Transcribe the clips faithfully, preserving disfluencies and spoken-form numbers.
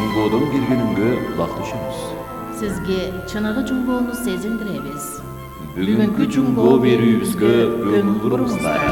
Жунгодон келгениңге кулак түшөбүз. Сизге чыныгы жунгоону сезилдиребиз. Бүгүнкү жунгоо берүүбүзгө көңүл буруңуздар.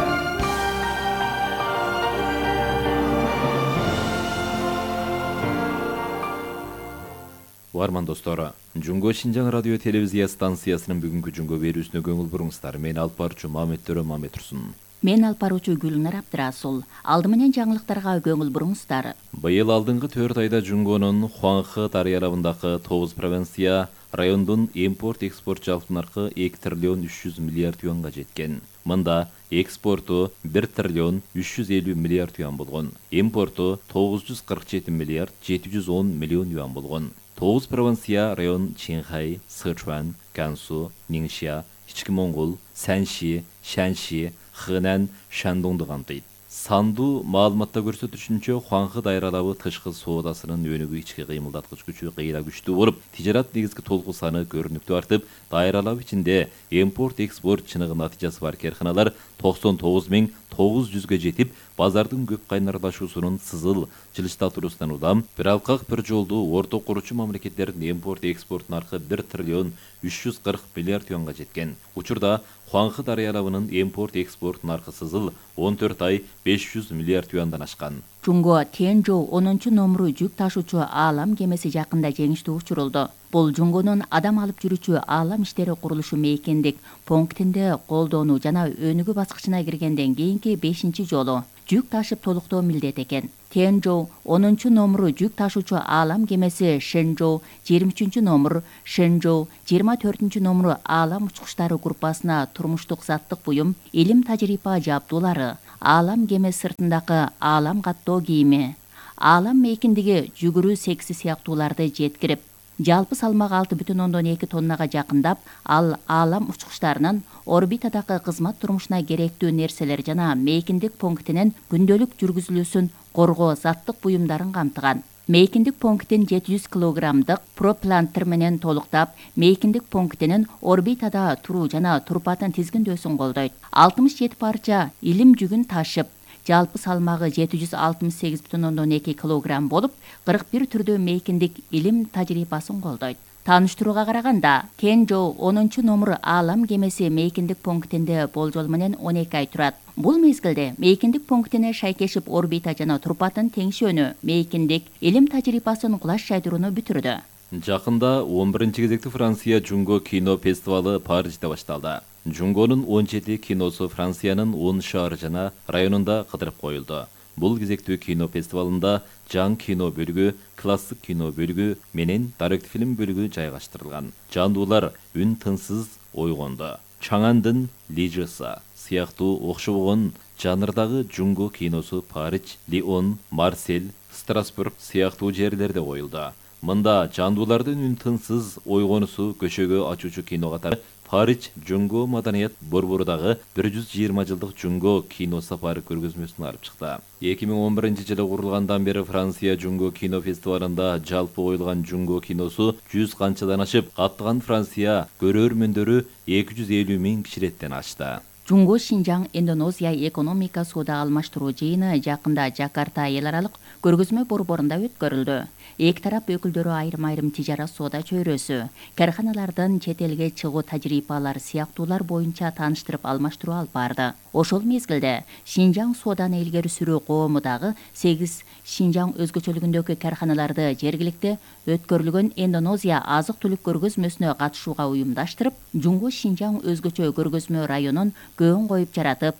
Уарман достор, Жунго Шинжаң радио телевизия станциясынын бүгүнкү жунгоо берүүсүнө көңүл буруңуздар. Мен алып баруучу Мамет Төрө Мамет Турсун. Мен алып баруучу Гүлнар Абдрасул. Алды менен жаңылыктарга көңүл буруңуздар. Быйыл алдыңкы төрт айда Жунгонун Хуанхэ дарыялабындагы тогуз провинция райондун импорт-экспорт жалпы наркы эки триллион үч жүз миллиард юанга жеткен. Мында экспорту бир триллион үч жүз элүү миллиард юан болгон. Импорту тогуз жүз кырк жети миллиард жети жүз он миллион юан болгон. тогуз провинция район Чинхай, Сычуан, Гансу, Ниңшя, Ички Моңгол, Сянши, Шанши, Хэнань, Шандоңду камтыйт. Сандуу маалыматта көрсөтүшүнчө, Хуанхэ дайралабы тышкы соодасынын өнүгүү ички кыймылдаткыч күчү кыйла күчтүү болуп, тижарат негизги толку саны көрүнүктүү артып, дайралап ичинде импорт-экспорт чыныгы натыйжасы бар карханалар токсон тогуз миң тогуз жүзгө жетип, базардын көп кайнарлашуусунун сызыл жылыштатуусунан улам, бир алкак бир жолдуу орто куручу мамлекеттердин импорт-экспорт наркы бир триллион үч жүз кырк миллиард юанга жеткен. Учурда Хуанхэ дарыялабынын импорт-экспорт наркы сызыл он төрт ай беш жүз миллиард юандан ашкан. Жунго Тенжоу онунчу номуру жүк ташуучу аалам кемеси жакында жеңиштүү учурулду. Бул Жунгонун адам алып жүрүүчү аалам иштери курулушу мейкиндик пунктинде колдонуу жана өнүгүү баскычына киргенден кийинки бешинчи жолу жүк ташып толуктоо милдет экен. Тенжоу онунчу номуру жүк ташуучу аалам кемеси Шэнжоу жыйырма үчүнчү номур, Шэнжоу жыйырма төртүнчү номуру аалам учкучтары группасына турмуштук заттык буюм, илим тажрыйба жабдуулары, аалам кемеси сыртындагы аалам каттоо кийими, аалам мейкиндиги жүгүрүү секси сыяктууларды жеткирип, жалпы салмагы алты бүтүн ондон эки тоннага жакындап, ал аалам учкучтарынын орбитадагы кызмат турмушуна керектүү нерселер жана мейкиндик пунктинин күндөлүк жүргүзүлүүсүн коргоо заттык буюмдарын камтыган. Мейкиндик пунктин жети жүз килограммдык проплантер менен толуктап, мейкиндик пунктинин орбитада туруу жана турпатын тизгиндөөсүн колдойт. алтымыш жети парча илим жүгүн ташып, жалпы салмагы жети жүз алтымыш сегиз бүтүн ондон эки килограмм болуп, кырк бир түрдүү мейкиндик илим тажрыйбасын колдойт. Тааныштырууга караганда, Тенжоу онунчу номуру аалам кемеси мейкиндик пунктинде болжол менен он эки ай турат. Бул мезгилде мейкиндик пунктине шайкешип орбита жана турпатын теңшөөнү, мейкиндик илим тажрыйбасын кулаш жайдырууну бүтүрдү. Жакында он биринчи кезекти Франция Жунго кино фестивалы Парижде башталды. Жунгонун он жети киносу Франциянын он шаары жана районунда кыдырып коюлду. Бул кезектүү кино фестивалында жаң кино бөлүгү, классик кино бөлүгү менен даректик фильм бөлүгү жайгаштырылган. Жандуулар үн тынсыз ойгонду. Чаңандын Лижеса сыяктуу окшобогон жанрдагы Жунго киносу Париж, Лион, Марсель, Страсбург сыяктуу жерлерде коюлду. Мында жандуулардын үн тынсыз ойгонусу көчөгө ачуучу кино катары Париж Жунго маданият борборудагы бир жүз жыйырма жылдык Жунго кино сапары көргөзмөсүн алып чыкты. эки миң он биринчи жылы курулгандан бери Франция Жунго кино фестивалында жалпы коюлган Жунго киносу жүз канчадан ашып, каттаган Франция көрөрмөндөрү эки жүз элүү миң кишилеттен ашты. Жунго Шинжаң Индонезия экономика соода алмаштыруу жыйыны жакында Жакарта эл аралык көргөзмө борборунда өткөрүлдү. Эки тарап өкүлдөрү айрым-айрым тижара соода чөйрөсү, карханалардын чет элге чыгуу тажрыйбалары сыяктуулар боюнча тааныштырып алмаштыруу алып барды. Ошол мезгилде Шинжаң сооданы илгери сүрүү коомудагы сегиз Шинжаң өзгөчөлүгүндөгү карханаларды жергиликте өткөрүлгөн Индонезия азык-түлүк көргөзмөсүнө катышууга уюмдаштырып, Жунго Шинжаң өзгөчө көргөзмө районун көөн коюп жаратып,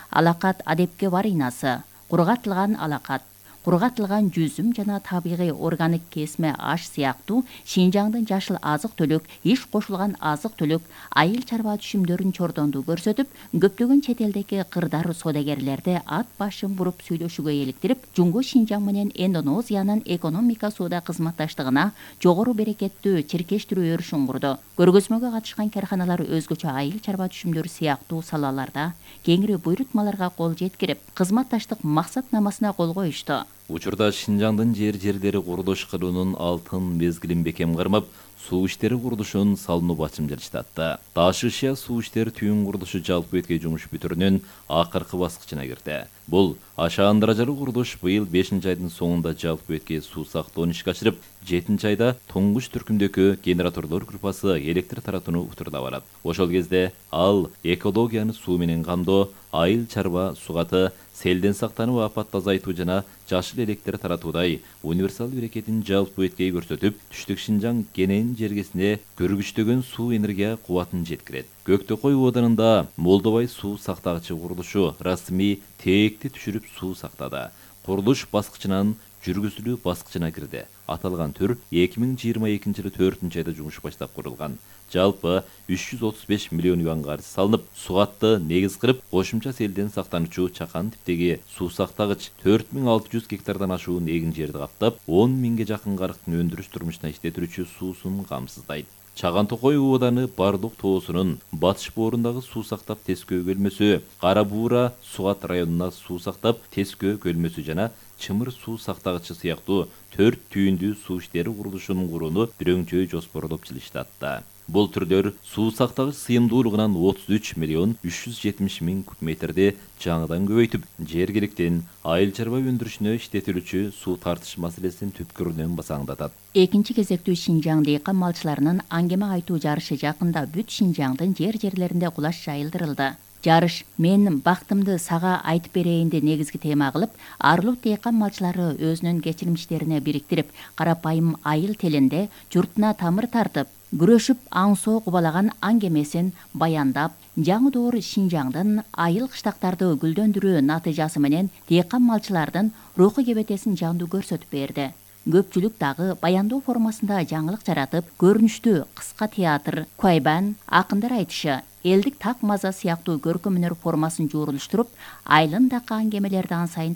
алакат адепке баринасы, кургатылган алакат, кургатылган жүзүм жана табигый органик кесме аш сыяктуу Шинжаңдын жашыл азык-түлүк, иш кошулган азык-түлүк, айыл чарба түшүмдөрүн чордондуу көрсөтүп, көптөгөн чет элдеги кырдар соодагерлерди ат башын буруп сүйлөшүүгө иликтирип, Жунго Шинжаң менен Индонезиянын экономика соода кызматташтыгына жогору берекеттүү чиркештирүү өрүшүн курду. Көргөзмөгө катышкан карханалар өзгөчө айыл чарба түшүмдөрү сыяктуу салаларда кеңири буйрутмаларга кол жеткирип, кызматташтык максатнамасына кол коюшту. Учурда Шинжаңдын жер жерлери курулуш кылуунун алтын мезгилин бекем кармап, суу иштери курулушун салынуу бачым жатышты. Таш ышыя суу иштери түйүн курулушу жалпы өткөй жумуш бүтүрүнүн акыркы баскычына кирди. Бул ашаан даражалуу курулуш быйыл бешинчи айдын соңунда жалпы өткөй суу сактоону ишке ашырып, жетинчи айда туңгуч түркүмдөгү генераторлор группасы электр таратууну утурда барат. Ошол кезде ал экологияны суу менен камдоо, айыл чарба сугаты, селден сактануу, апатты азайтуу жана жашыл электр таратуудай универсал берекетин жалпы өткөй көрсөтүп, түштүк Шинжаң кенен жергесине көргүчтөгөн суу энергия кубатын жеткирет. Көктөкөй ооданында Молдобай суу сактагычы курулушу расмий тээкти түшүрүп суу сактады. Курулуш баскычынан жүргүзүлүү баскычына кирди. Аталган түр эки миң жыйырма экинчи жылы төртүнчү айда жумуш баштап курулган. Жалпы үч жүз отуз беш миллион юанга арыз салынып, сугатты негиз кылып, кошумча селден сактануучу чакан типтеги суу сактагыч төрт миң алты жүз гектардан ашуун эгин жерди каптап, он миңге жакын карыктын өндүрүш турмушуна иштетилүүчү суусун камсыздайт. Чаган Токой ооданы Бардык тоосунун батыш боорундагы суу сактап Тескөө көлмөсү, Кара Буура Сугат районуна суу сактап Тескөө көлмөсү жана Чымыр суу сактагычы сыяктуу төрт түйүндүү суу иштери курулушунун курууну бирөңчөй жоспорлоп жылыштатты. Бул түрлөр суу сактагыч сыйымдуулугунан отуз үч миллион үч жүз жетимиш миң куб метрди жаңыдан көбөйтүп, жергиликтин айыл чарба өндүрүшүнө иштетилүүчү суу тартыш маселесин түпкүрүнөн басаңдатат. Экинчи кезектүү Шинжаң дыйкан малчыларынын аңгеме айтуу жарышы жакында бүт Шинжаңдын жер жерлеринде кулаш жайылдырылды. Жарыш "Мен бактымды сага айтып берейинди" негизги тема кылып, Арлут дыйкан малчылары өзүнүн кечирмиштерине бириктирип, карапайым айыл тилинде журтуна тамыр тартып, күрөшүп аң-соо кубалаган аңгемесин баяндап, жаңы доор Шинжаңдын айыл кыштактарды гүлдөндүрүү натыйжасы менен дыйкан малчылардын руху кебетесин жандуу көрсөтүп берди. Көпчүлүк дагы баяндоо формасында жаңылык жаратып, көрүнүштүү кыска театр, куайбан, акындар айтышы, элдик так маза сыяктуу көркөм өнөр формасын жуурулуштуруп, айылындагы аңгемелерди ан сайын